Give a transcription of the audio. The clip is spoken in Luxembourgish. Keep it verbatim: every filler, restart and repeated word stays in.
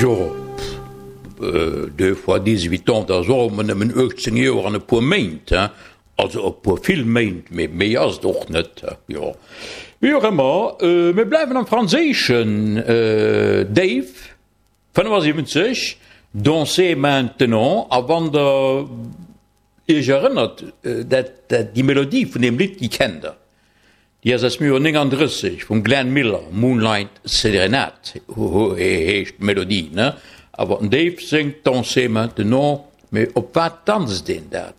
Jo, deux fois dix-huit ans, dat ass och ëmmer nëmmen uechtzéng Joer an e puer Méint, hein. Also e puer vill Méint, mee méi ass et och net, jo. Wéi och ëmmer, mir bleiwen am Franséischen, Dave, fënnefasiwwenzeg, Danser maintenant, a wann Der Iech erënnert, dat, dat, déi Melodie vun deem Lidd, déi kennt Der. Déi ass aus dem Joer néngandrësseg vum Glenn Miller, Moonlight Serenade heescht d'Melodie, ne? Awer den Dave séngt Danser maintenant, mee op wat danzt een dat?